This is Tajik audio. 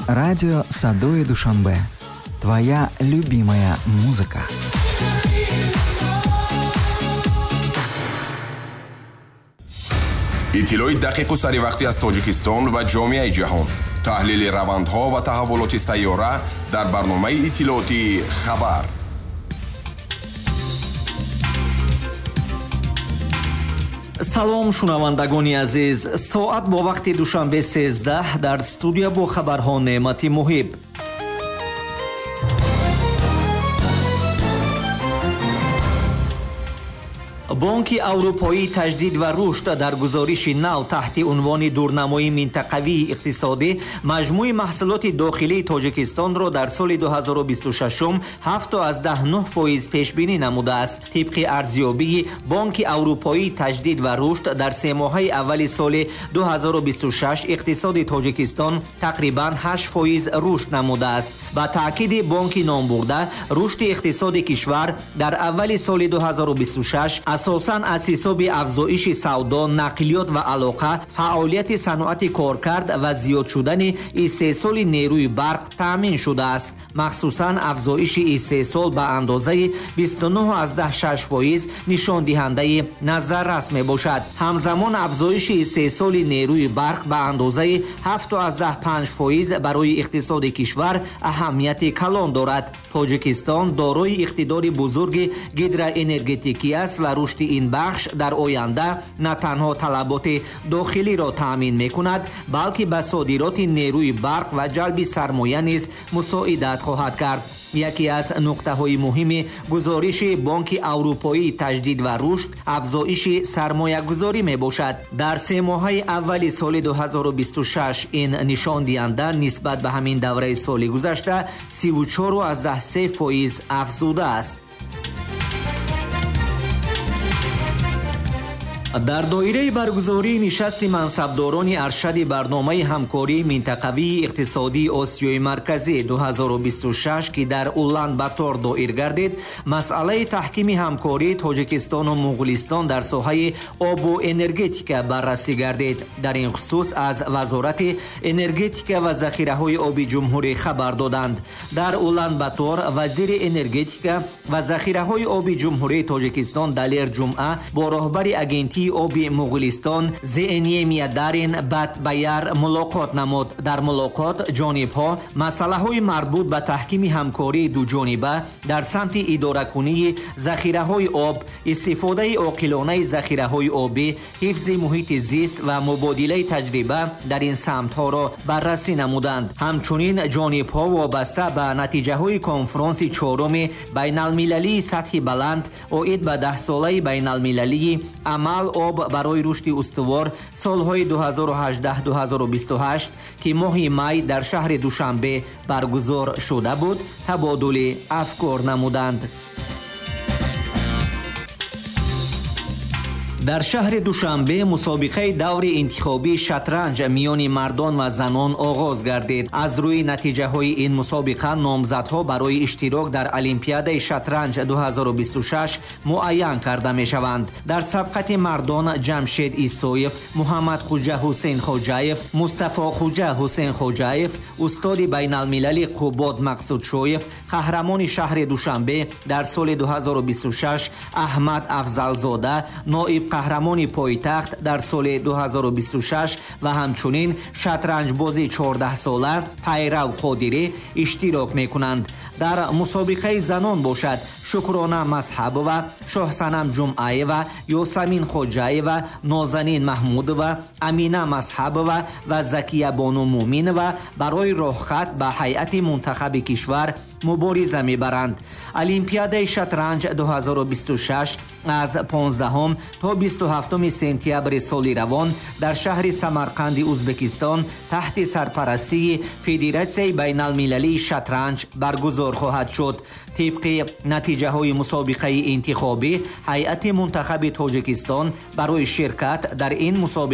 Радио Садои Душанбе. Твоя любимая музыка. Иттилои дақиқу саривақтӣ аз Тоҷикистон ва ҷомеаи ҷаҳон, таҳлили равандҳо ва таҳаввулоти сайёра дар барномаи иттилоотии «Хабар». Салом, шунавандагони азиз. Соат бо вақти Душанбе 13, дар студия бо хабарҳо Неъмати Муҳиб. Бонки Аврупоии таҷдид ва рушд дар гузориши нав таҳти унвони дурнамои минтақавии иқтисодӣ маҷмӯи маҳсулоти дохилии Тоҷикистонро дар соли 2026 7,9% пешбинӣ намудааст. Тибқи арзёбии Бонки Аврупоии таҷдид ва рушд, дар семоҳаи аввали соли 2026 иқтисоди Тоҷикистон тақрибан 8% рушд намудааст. Ба таъкиди бонки номбурда, рушди иқтисоди кишвар дар аввали соли 2026 асосан аз ҳисоби афзоиши савдо, нақлиёт ва алоқа, фаъолияти саноати коркард ва зиёд шудани истеҳсоли нерӯи барқ таъмин шудааст. Махсусан афзоиши истеҳсол ба андозаи 29,6% нишондиҳандаи назаррас мебошад. Ҳамзамон афзоиши истеҳсоли нерӯи барқ ба андозаи 7,5% барои иқтисоди кишвар аҳамияти калон дорад. Тоҷикистон дорои иқтидори бузурги гидроэнергетикӣ аст ва рушди ин бахш дар оянда на танҳо талаботи дохилиро таъмин мекунад, балки ба содироти нерӯи барқ ва ҷалби сармоя низ мусоидат хоҳад кард. Яке аз нуқтаҳои муҳими гузориши Бонки Аврупоии таҷдид ва рушд афзоиши сармоягузорӣ мебошад. Дар семоҳаи аввали соли 2026 ин нишондиҳанда нисбат ба ҳамин давраи соли гузашта 34,3% афзудааст. Дар доираи баргузории нишасти мансабдорони аршади барномаи ҳамкории минтақавии иқтисодии Осиёи Марказӣ 2026, ки дар Улан Батор доир гардид, масъалаи таҳкими ҳамкории Тоҷикистону Муғулистон дар соҳаи обу энергетика баррасӣ гардид. Дар ин хусус аз Вазорати энергетика ва захираҳои оби ҷумҳурӣ хабар доданд. Дар Улан Батор вазири энергетика ва захираҳои оби Ҷумҳурии Тоҷикистон Далер Ҷумъа бо роҳбари агентии оби Муғулистон Зеэнемия Дарин Батбаяр мулоқот намуд. Дар мулоқот ҷонибҳо масъалаҳои марбут ба таҳкими ҳамкории дуҷониба дар самти идоракунии захираҳои об, истифодаи оқилонаи захираҳои обӣ, ҳифзи муҳити зист ва мубодилаи таҷриба дар ин самтҳоро баррасӣ намуданд. Ҳамчунин ҷонибҳо вобаста ба натиҷаҳои конфронси чоруми байналмилалии сатҳи баланд оид ба даҳсолаи байналмилалии амал об барои рушди устувор солҳои 2018-2028, ки моҳи май дар шаҳри Душанбе баргузор шуда буд, табодули афкор намуданд. Дар шаҳри Душанбе мусобиқаи даври интихобии шатранҷ миёни мардон ва занон оғоз гардид. Аз рӯи натиҷаҳои ин мусобиқа номзадҳо барои иштирок дар Олимпиадаи шатранҷ 2026 муайян карда мешаванд. Дар сабқати мардон Ҷамшед Исоев, Муҳаммадхуҷа Ҳусейнхоҷаев, Мустафохуҷа Ҳусейнхоҷаев, устоди байналмилалӣ Қубод Мақсудшоев, қаҳрамони шаҳри Душанбе дар соли 2026 Аҳмад Афзалзода, ноиб қаҳрамони пойтахт дар соли 2026 ва ҳамчунин шатранҷбози 14-сола Пайрав Қодирӣ иштирок мекунанд. Дар мусобиқаи занон бошад Шукрона Масҳабова, Шоҳсанам Ҷумъаева, Ёсамин Хоҷаева, Нозанин Маҳмудова, Амина Масҳабова ва Закиябону Муъминова барои роҳхат ба ҳайати мунтахаби кишвар мубориза мебаранд. Олимпиадаи шатранҷ 2026 аз 15 то 27 сентябри соли равон дар шаҳри Самарқанди Узбекистон таҳти сарпарастии Федератсияи байналмилалии шатранҷ баргузор хоҳад шуд. Тибқи натиҷаҳои мусобиқаи интихобӣ, ҳайати мунтахаби Тоҷикистон барои ширкат дар ин мусобиқа